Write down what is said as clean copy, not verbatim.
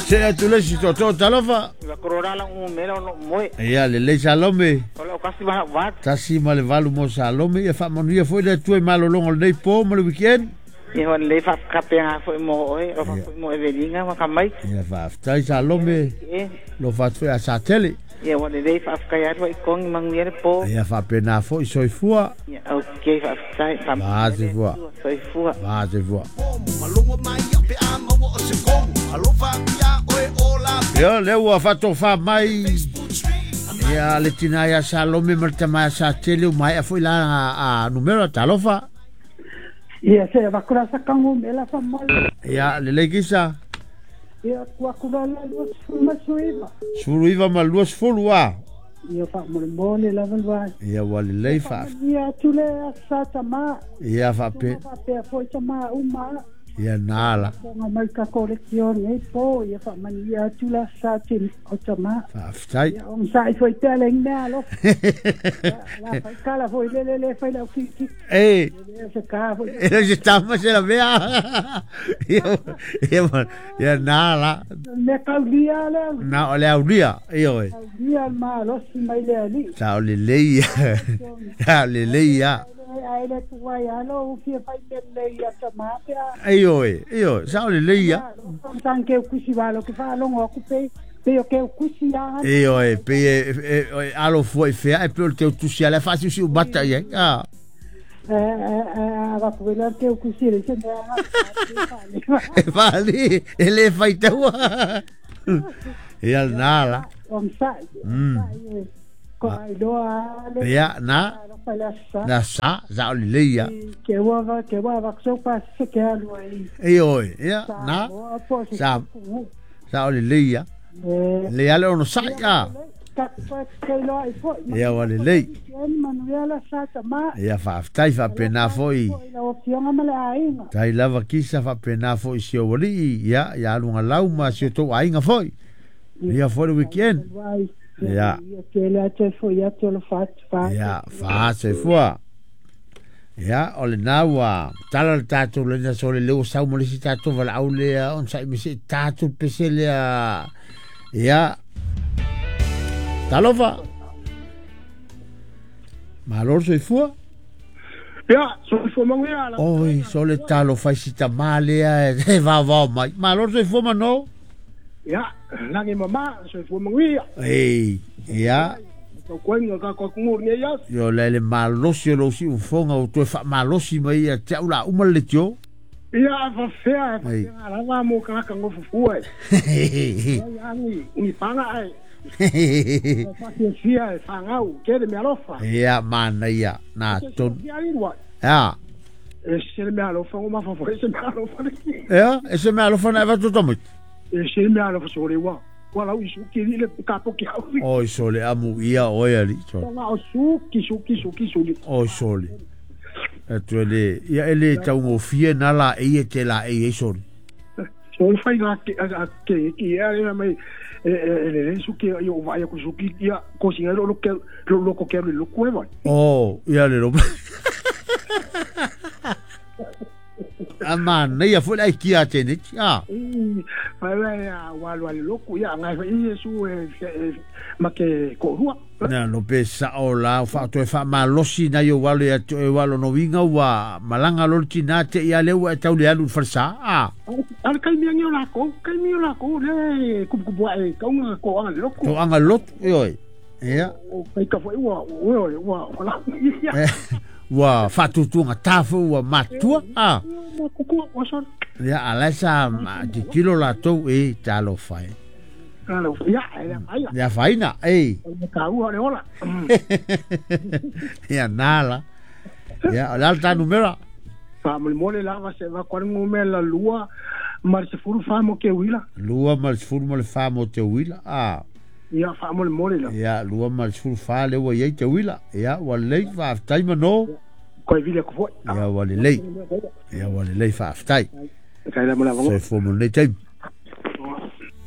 Se atu le si toto talofa. Ia korora la u mela o moe. Ia lelei Salome. O lau kasi ma vat. 1 ma 8 mo Salome. Ia faamanuia foi le Atua i malologa o lenei po ma le weekend. Ia ua lelei faafekapega foi mo oe, alofa foi mo Evelina ma Kamai. Ia faafetai Salome. E. Lofa atu foi a Satele. Ia ua lelei faafetai atu ai kogi manuia le po. Ia faapena foi, soifua. Ia okay, faafetai. Va soifua. Soifua. Va soifua. Ia lea ua faatofā mai ia le tina ia Salome ma le tama ia Satele ua maea foi la a numera talofa. Ia se avakura sa kangu me la fa mole. Ia lelei kisa. Ia ku aku la la 29. 19 ma 20 a. Ia fa mole mole la va. Ia ua lelei fa. Ia tule sa tama. Ia fa pe. Fa pe foi tama uma. Ia nala. Nga mai ka kolektion nei po ia fa mani ia tula sa tin o tama. Faafetai. Ia on sa i foi tele ngia lo. La fai kala foi le le le fai la ki ki. E. Le se ka foi. E se tama se la mea. Ia ia ia nala. Me kaulia le. Na o le aulia. Ia oi. Kaulia ma lo si mai le ali. Sa o lelei. Sa o lelei ia. Ai le tuai alo u fia fai me le ia tama pe a. Ei oi, ei oi, sa o lelei ia. San ke kusi valo ke fa longo ku pe pe o ke kusi a. Ei oi, pe e alo fua i fea e pe o le teu tusi ala faasiusiu mata i ai. Ah. A va ku le ke kusi le se me a. E fali, e le faitaua. Ia nala. Om sa. Ko ai loa le. Ia na. La sa sa o lelei ia. Ke ua va ke ua va so pa se ke alu ai. Ei oi, ia na. Sa sa o lelei ia. Le ale ono sai a. Ia ua lelei. Ia faafetai faapena foi. Tai lava kisa faapena foi si ou alii ia ia aluga lau ma si o tou aiga foi. Ia foi le weekend. Ia. Ia faasoifua. Ia o lena ua tala le tatou lena so le leo sau ma le isi tatou valaau lea ona sa'i mai se'i tatou pese lea. Ia. Talofa. Malo le soifua. Ia, soifua manuia. Oi, so le talofa i si tamā lea e vaovao mai. Malo le soifua mano. Ia, lagi mama, soifua manuia. Ei, ia. Tau koenga ka ko kungur nei as. Yo le le malosi o lou siufoga o toe faamalosi mai ia te au la uma le leitio. Ia, fa fea, fa fea lava mo ka ka ngofu e. Ia ni, ni panga ai. Fa fia e fangau, ke le me alofa. Ia mana ia na ton. Ia. E se le me alofa o ma fa foi se me alofa. Ia, e se me alofa na va to tamit. E se me alofa so le wa. Wala u suki le ka po ki au. Oi sole amu ia oi ali sole. O suki suki suki suki. Oi sole. E tu le ia ele tau ngofie na la e te la e e sole. So fai la ke ke ki ia le mai e le suki yo vai ko suki ia ko singa lo ke lo ko ke lo ko e vai. Oh, ia le lo. Ama nei a foi ai kia te ni. Ah. Vai vai a wa lo le ko ia ngai foi Yesu e ma ke ko rua. Na no pe sa o la fa to fa malosi na yo walo ya to e walo no winga wa malanga lo tina te ia le wa tau le alu farsa. Ah. Al kai mi ngi la ko, kai mi la ko le ku ku wa e ka unga ko anga lo ko. To anga lot e oi. Ia. O kai ka foi wa o wa wa la. Ua faatutuga tafu ua matua a. Ia alae sa titilo latou e talofa e. Ia faina e. Ia nala. Ia o le ala ta numera. Faamolemole lava se vakualigomela 24 mo ke uila. 24 mo te uila a. Ia faamolemole la. Ia 24 le ua iai te uila. Ia ua lelei faafetai manō. Koe vile ko foi. Ia ua lelei. Ia ua lelei faafetai. Kai la mo la Soifua mo lenei taimi.